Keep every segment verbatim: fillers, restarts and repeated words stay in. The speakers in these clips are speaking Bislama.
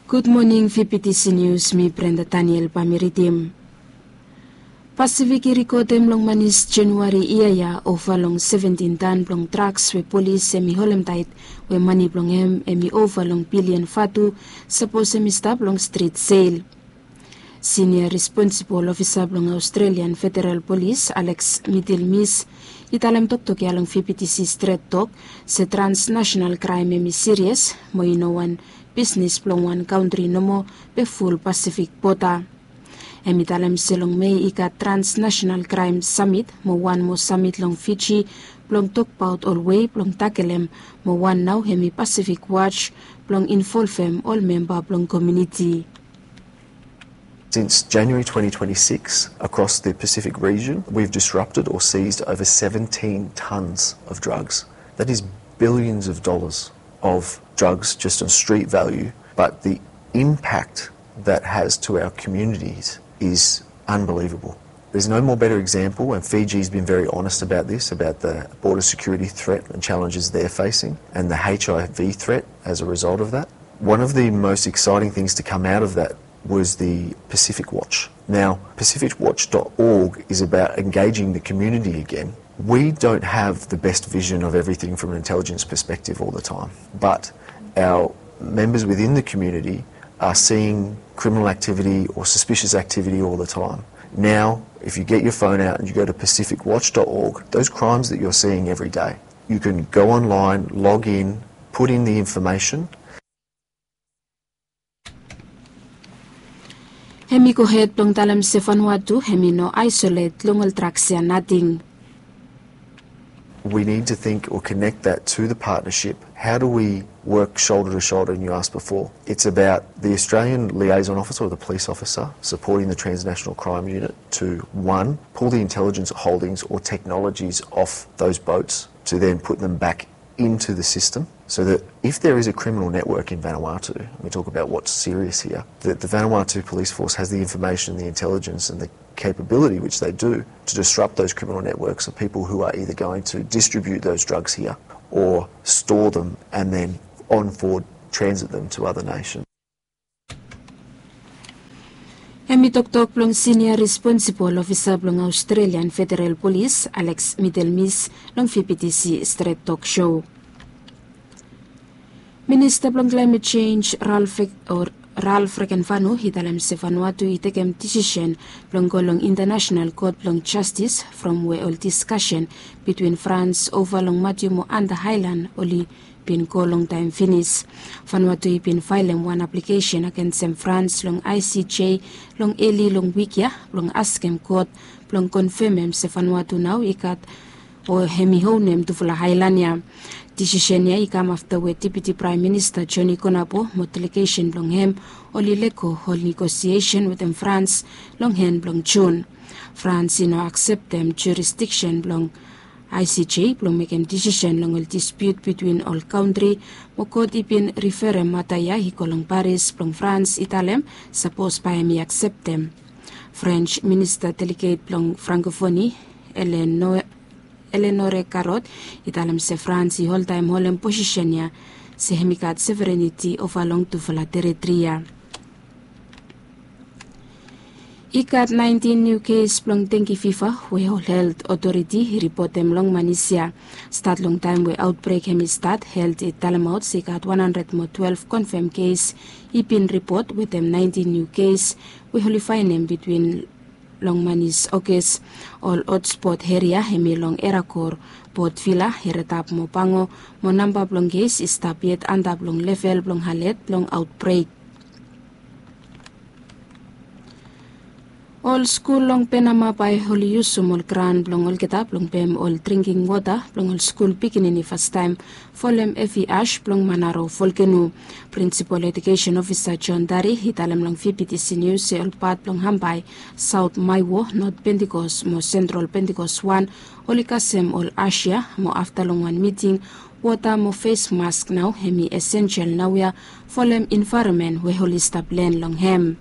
Gud moning, V P T C News, mi Brenda Daniel bae mi ridim. Pasifik i rekodem long manis Januari yia ya ova long seventin tan blong draks we polis hem i holemtaet, we mane blong hem hem i ova long bilian vatu, sapos hem i stap long strit sel. Sinia responsibol ofisa blong Australian Federal Polis, Alex Middlemis, i talem toktok ya long V P T C Stret Tok, se transnational kraem hem i sirias, mo i no wan bisnis blong wan kantri nomo be ful Pasifik bota. Hem i talem se long Mei i gat transnational kraem samit mo wan moa samit long Fiji blong tokbaot ol wei blong takelem, mo wan nao hem i Pasifik Watch blong involvem ol memba blong komuniti. Since January twenty twenty-six, across the Pacific region, we've disrupted or seized over seventeen tons of drugs. That is billions of dollars of drugs just on street value, but the impact that has to our communities is unbelievable. There's no more better example, and Fiji's been very honest about this, about the border security threat and challenges they're facing, and the H I V threat as a result of that. One of the most exciting things to come out of that was the Pacific Watch. Now, pacific watch dot org is about engaging the community again. We don't have the best vision of everything from an intelligence perspective all the time, but our members within the community are seeing criminal activity or suspicious activity all the time. Now, if you get your phone out and you go to pacific watch dot org, those crimes that you're seeing every day, you can go online, log in, put in the information. Hem i gohed blong talem se Vanuatu hem i no aisolet long ol draks ya nating. We need to think or connect that to the partnership. How do we work shoulder to shoulder? And you asked before. It's about the Australian liaison officer or the police officer supporting the transnational crime unit to, one, pull the intelligence holdings or technologies off those boats to then put them back into the system, so that if there is a criminal network in Vanuatu, and we talk about what's serious here, that the Vanuatu Police Force has the information, the intelligence, and the capability, which they do, to disrupt those criminal networks of people who are either going to distribute those drugs here or store them and then on board transit them to other nations. Hem i toktok blong sinia responsibol ofisa blong Australian Federal Polis, Alex Middlemis, long V P T C Stret Tok Show. Minista blong Climate Change, Ralph Fek-, o Ralph Rekenvanu, i talem se Vanuatu i tekem disisen blong go long International Kot blong Jastis from we ol diskasen bitwin Frans ova long Matthew mo Anda Haelan oli bin go longtaem finis. Vanuatu i bin faelem wan aplikesen agensem Frans long I C J long eli long wik ya blong askem kot blong konfemem se Vanuatu nao i gat o hem i onem tufala aelan ya. Disisen ya i kam afta we Deputi Praem Minista Johnny Konapo mo delegesen blong hem oli lego ol negosiesen wetem Frans long en blong Jun. Frans i no akseptem jurisdiksen blong I C J blong mekem disisen long ol dispiut bitwin ol kantri, mo kot i bin riferem mata ya i go long Paris blong Frans i talem sapos bae hem i akseptem. French Minista Deleget blong Frankofoni, Eleanor, Eleanore Carrot, i talem se Frans i oltaem holem posisen ya se hem i gat severeniti ova long tufala teritri ya. I gat naentin niu kes blong dengi fiva we ol helt otoriti i ripotem long Manis ya. Stat long taem we aotbrek hem i stat, helt i talemaot se i gat wan handred mo twelef konfem kes i bin ripot wetem naentin niu kes we oli faenem bitwin long Manis, Oges. Ol hotspot eria hem i long Erakor, Port Vila, Eredap mo Pango, mo namba blong kes i stap yet antap long level blong alet blong aotbrek. Ol skul long Penama bae oli yusum ol gran blong olgeta blong pem ol dringking wota blong ol skul pikinini fastaem folem evi as blong Manaro volkeno. Prinsipol Ejukesen Ofisa John Dari i talem long V P T C Nius se ol pat blong Hambai, Saot Maewo, Not Pentikos mo Sentral Pentikos wan oli kasem ol as ya, mo afta long wan miting, wota mo fes mask nao hem i esensel naoia folem envaeronmen we oli stap len long hem.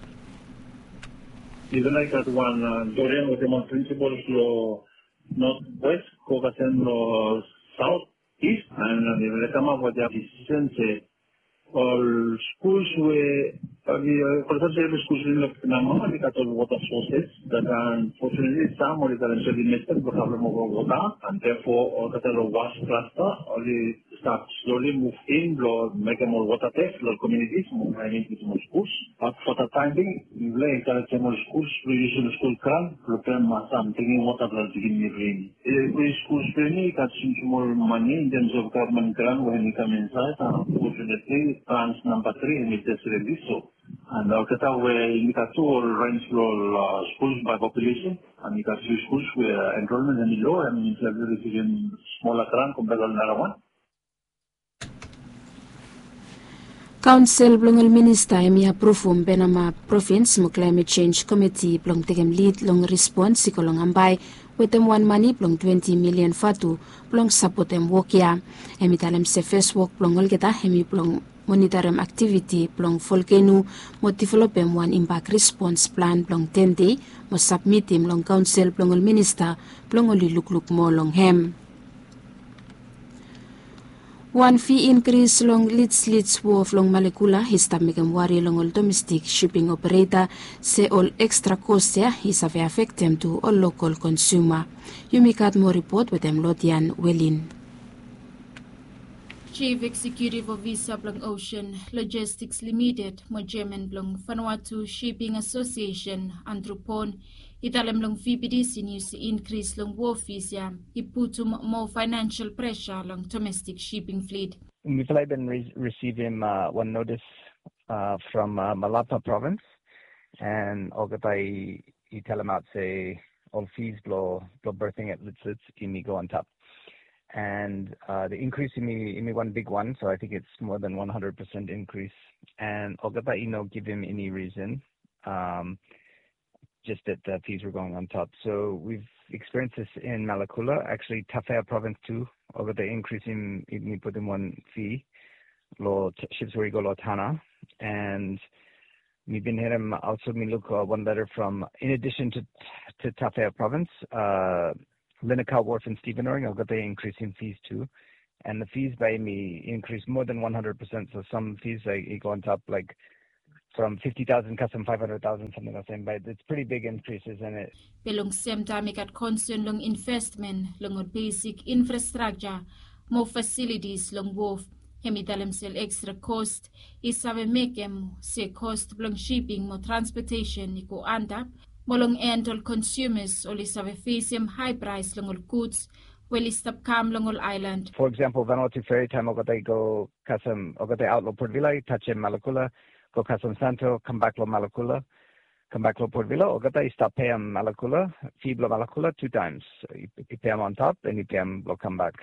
Yufala i gat wan, a, Dorian wetem ol prinsipol long Not Wes go kasem long Saot Is, an yufala i kamap wetem disisen se ol skuls we Oli, uh, for example, oli skuls in Namaha, oli gat ol water sources that, unfortunately, sam oli gat ol method blong problem over water, and therefore olgeta long West Cluster oli stap slowly move in blong mekem ol water test long communities mo mekem ol skuls. But for the time being, mifala encouragem ol skuls blong yusum skul grant blong pem sam drinking water blong pikinini blong yumi. Evri skuls blong yumi i gat smosmol mane in terms of government grant we hemi kam insaed. Unfortunately, tranche namba tri hemi jes release so. And olgeta we yumi gat tu ol range blong ol, uh, skuls by population, and yumi gat few skuls we, uh, enrollment hemi low, and yumi save risivim smola grant compared to nara wan. Kaonsel blong ol minista hemi apruvum Penama Provins mo Climate Change Komiti blong tekem lid long rispons i go long Ambae wetem wan mane blong twenti milian vatu blong sapotem wok ya. Hemi talem se fes wok blong olgeta hemi blong monitoem aktiviti blong volkeno mo developem wan imbak rispons plan blong ten dei mo sabmitim long kaonsel blong ol minista blong oli lukluk moa long hem. Wan fi inkris long Lits Lits wof long Malekula i stap mekem wari long ol domestik siping opereta se ol ekstra kos ya i save afektem tu ol lokol konsuma. Yumi gat moa ripot wetem Lodian Welin. Chief Executive Officer blong Ocean Logistics Limited mo Chairman blong Vanuatu Shipping Association, Andrew Pon, i talem long V B D C News se inkris long wof fis ya i putum moa financial pressure long domestic shipping fleet. Mifala i bin risivim wan notis from Malapa Province, and olgeta i talemaot se ol fis blong berthing at Lits Lits i go antap. And the increase i wan bigwan, so I think it's more than one hundred percent increase. And olgeta i no givim eni reason, just that the fees were going on top. So we've experienced this in Malakula, actually Tafea Province too. Olgeta inkris i putum wan fee long ships we i go long Tanna. And mi bin harim, also mi luk wan leta from, in addition to Tafea Province, Linacaa Wharf and Stevenage, olgeta inkrisim fees tu. And the fees bae hemi inkris moa than one hundred percent. So some fees i go antap, like, from fifty thousand kasem five hundred thousand, samting olsem, but it's pretty big increases in it. Be long semtaem i gat konsen long investment long ol besik infrastrakja mo fasilitis long wof. Hemi talem se ol ekstra kos i save mekem se kos blong shiping mo transpotesen i go antap, mo long en ol konsumas oli save fesem hae praes long ol guds we oli stap kam long ol aelan. For example, Vanuatu Ferry, taem olgeta i go kasem, olgeta i aot long Port Vila, i tajem Malakula, go kasem Santo, kambak long Malakula, kambak long Port Vila, olgeta i stap peem Malakula, fee blong Malakula tu taem. I peem antap and i peem blong kambak.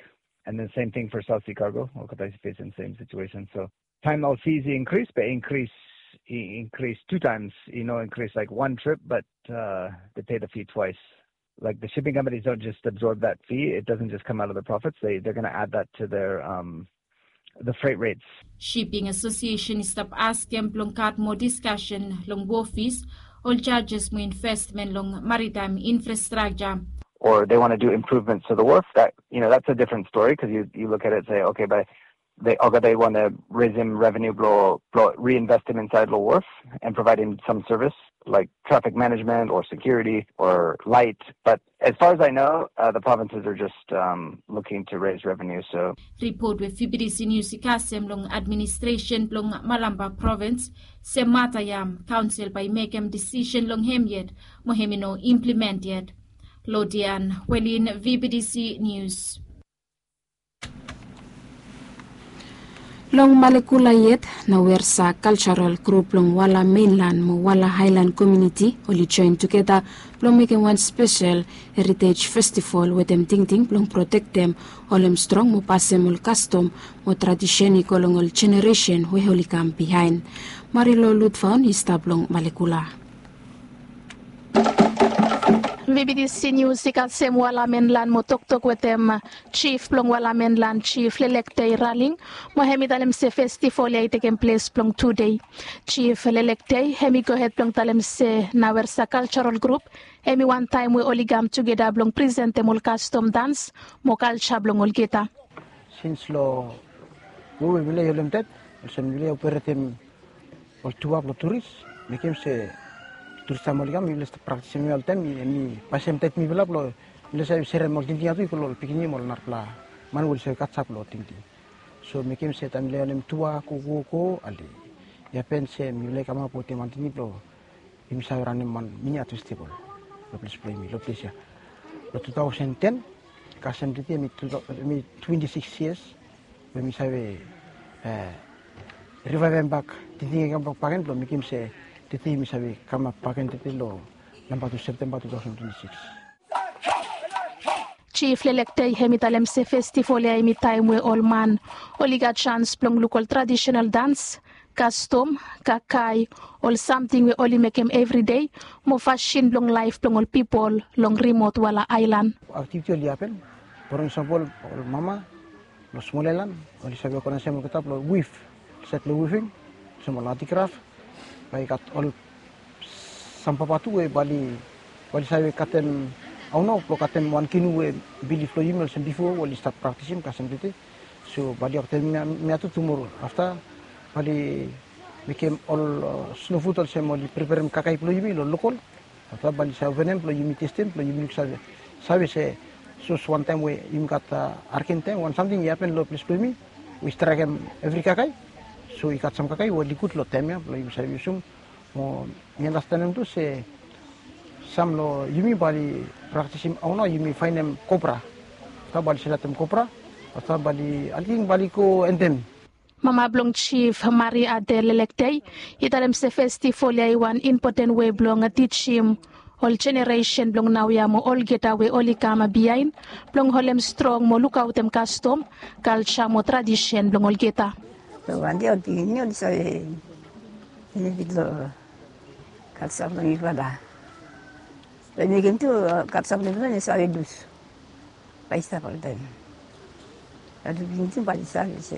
And then same thing for South Sea Cargo, olgeta i fesem same situation. So taem ol fees i inkris, be inkris, i inkris tu taem. I no inkris, like, one trip, but they pay the fee twice. Like, the shipping companies don't just absorb that fee. It doesn't just come out of the profits. They, they're gonna add that to their, um, the freight rates. Shipping Association i stap askem blong gat moa diskasen long wof fis, ol jajes mo investment long maritaem infrastrakja. Or they wanna do improvements to the wharf, that, you know, that's a different story, 'cause you, you look at it and say, okay, but they, olgeta i wanna resim revenue blong, blong reinvestem insaed long wharf and provaem some service like traffic management or security or light. But as far as I know, uh, the provinces are just, um, looking to raise revenue, so. Ripot we V B D C News i kasem long administresen blong Malampa Provins se mata ya kaonsel bae i mekem disisen long hem yet, mo hemi no implement yet. Lodian Welin, V B D C News. Long Malekula yet, Nawersa Cultural Group blong Wala Mainland mo Wala Highland Community oli joen tugeta blong mekem wan spesel Heritage Festival wetem tingting blong protektem, holem strong mo pasem ol kastom mo tradisen i go long ol jeneresen we oli kam biaen. Marilo Lutfaun i stap long Malekula. V B D C News i kasem Wala Mainland mo toktok wetem Chief blong Wala Mainland, Chief Lelektei Raling, mo hemi talem se festival ya i tekem ples blong tu dei. Chief Lelektei hemi gohed blong talem se Nawersa Cultural Group hemi wan taem we oli kam tugeta blong presentem ol kastom, dans mo kalja blong olgeta. Sins long we we village holem tet, olsem village operetem Ol tuak blong turis, mekem se turis taem oli kam, mifala stap praktisim oltaem, em i pasim taet mifala blong mifala save serem ol tingting ya tu i go long ol pikinini mo ol narapela man we oli save katap long tingting. So mekem se taem mifala wantem tuak go go go, ale i hapen se mifala i kamap wetem wan tingting blong yumi save ranem wan mini art festival long ples blong yumi long ples ya. Long two thousand ten, kasem tete em i two thou-, em i twenty six years we mi save, eh, rivaiv hem bak, tingting i kam bak bakegen blong mekem se tete mi save kamap bakegen tete long namba tu Septemba two thousand twenty six. Jif Lelektei hem i talem se festival ya hem i taem we ol man oli gat jans blong luk ol tradisional dans, kastom, kakae, ol samting we oli mekem evri dei, mo fasin blong laef blong ol pipol long rimot wala aelan. Aktiviti oli hapen, for example, ol mama long smol aelan oli save ogenaesem olgeta blong wif, set long wifing, olsem ol antikraf, bae i gat ol sam papa tu we bae oli, bae oli save katem, aono blong katem wan kinu we bilif blong yumi olsem bifo we oli stap praktisim kasem tete. So bae oli oktem mia tu tumoro afta bae oli mekem ol, uh, sno fut olsem oli preperem kakae blong yumi long lokol. Afta bae oli save openem blong yumi testem blong yumi luksave, save se sapos wantaem we yumi gat, uh, hariken taem wan samting i hapen long ples blong yumi we i straekem evri kakae. So i gat sam kakae we oli gud long taem ya blong yumi save yusum. Mo mi andastanem tu se sam long yumi bae oli praktisim aono yumi faenem kopra. Afta bae oli seletem kopra. Afta bae oli, ating bae oli go endem. Mama blong jif Mari Ade Lelektei i talem se festival ya i wan impoten wei blong tijim ol jeneresen blong naoia mo olgeta we oli kam biaen blong holem strong mo lukaotem kastom, kalja mo tradisen blong olgeta. Long wan dei ol pikinini oli save benefit long kalja blong yufala. Bae i mekem tu kalja blong yufala i no save lus. Bae i stap oltaem. Bae ol pikinini tu bae oli save se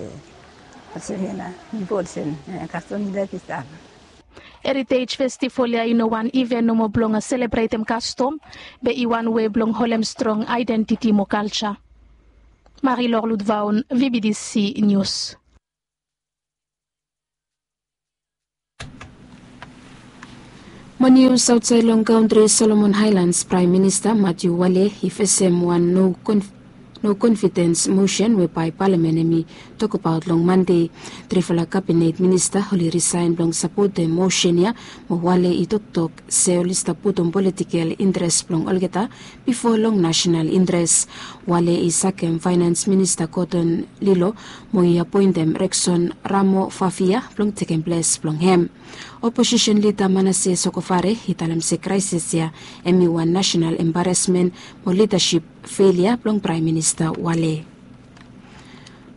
olsem ya nao, bifo olsem, eh, kastom i laek i stap. Heritage Festival ya i no wan iven nomo blong selebretem kastom, be i wan wei blong holem strong aedentiti mo kalja. Marie-Laure Ludvaon, V B D C News. Mo nius aotsaed long kantri Solomon Highlands, Praem Minista Matthew Wale i fesem wan no konf-, no konfidens mosen we bae palamen hem i tokbaot long Mande. Trifala kabinet minista oli risaen blong sapotem mosen ya, mo Wale i toktok se oli stap putum politikel interes blong olgeta bifo long nasenal interes. Wale i sakem Faenans Minista Gordon Lilo mo i apoentem Rexon Ramo Fafia blong tekem ples blong hem. Oposisen lida Manasseh Sogavare i talem se kraesis ya hem i wan nasenal embaresmen mo lidasip felia blong Praem Minista Wale.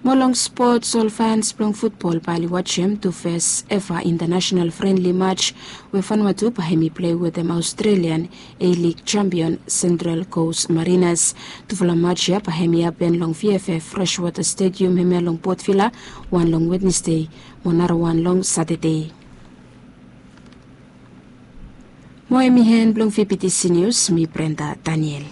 Mo long spots, ol fans blong futbol bae oli wajem tu fes eva intanasenal frenli maj we Vanuatu bae hem i plei wetem Australian A-League jampion Central Coast Mariners. Tufala maj ya bae hem i hapen long V F F Freshwater Stadium hemia long Port Vila, wan long Wednesdei mo narawan long Satade. Mo hem i en blong V B T C News, mi Brenda Daniel.